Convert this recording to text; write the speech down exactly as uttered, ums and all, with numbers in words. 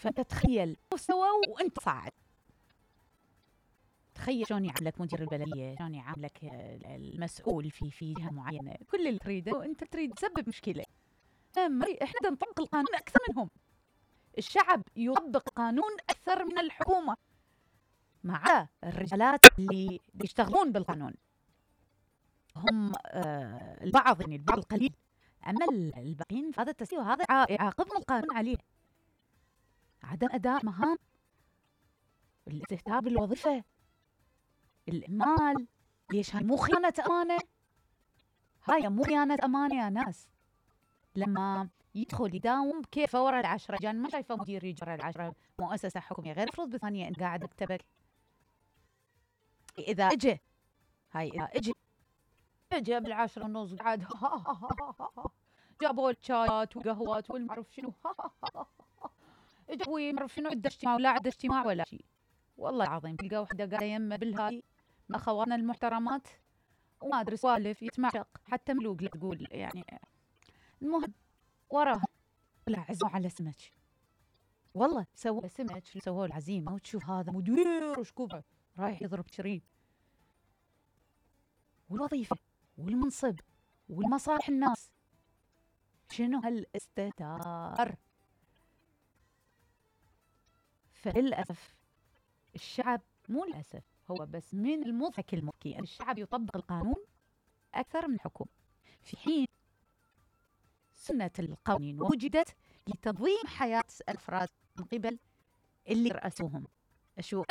فانت تخيل سووا وانت صاعد. تخيل شلون يعاملك مدير البلديه، شلون يعاملك المسؤول في في جهه معينه، كل اللي تريده وانت تريد تسبب مشكله. احنا نطبق القانون اكثر منهم. الشعب يطبق قانون اكثر من الحكومه، مع الرجالات اللي بيشتغلون بالقانون هم آه البعض، يعني البعض القليل، اما الباقيين هذا التسويه وهذا يعاقبهم القانون عليه. عدم اداء مهام، الاستهتار بالوظيفه، الإهمال. ليش هاي مو خيانة أمانة؟ هاي مو خيانة أمانة يا ناس. لما يدخل يداوم كيف ورا العشرة، جان ما شايفه مدير يجي ورا العشرة مؤسسة حكومية، غير مفروض بثانية أنت قاعد مكتبك. إذا إجا هاي إذا إجا إجا بالعشرة ونص قاعد جابوا الشايات والقهوات والمعرف شنو إجا ومعرف شنو عدة اجتماع ولا عدة اجتماع ولا شيء. والله العظيم تلقى وحدة قاعدة يمه بالهاي من أخواتنا المحترمات وما أدري سوالف يتمعشق، حتى ملوق لا تقول يعني. المهم وراها طلع عزموا على سمك، والله سووا سمك، سووا العزيمة وتشوف هذا مدير وشكوبه رايح يضرب شريب. والوظيفة والمنصب والمصالح الناس، شنو هالاستهتار؟ فللأسف الشعب، مو للأسف، هو بس من المضحك المبكي أن الشعب يطبق القانون أكثر من الحكومة، في حين سنة القوانين وجدت لتنظيم حياة الأفراد من قبل اللي رأسوهم. أشوف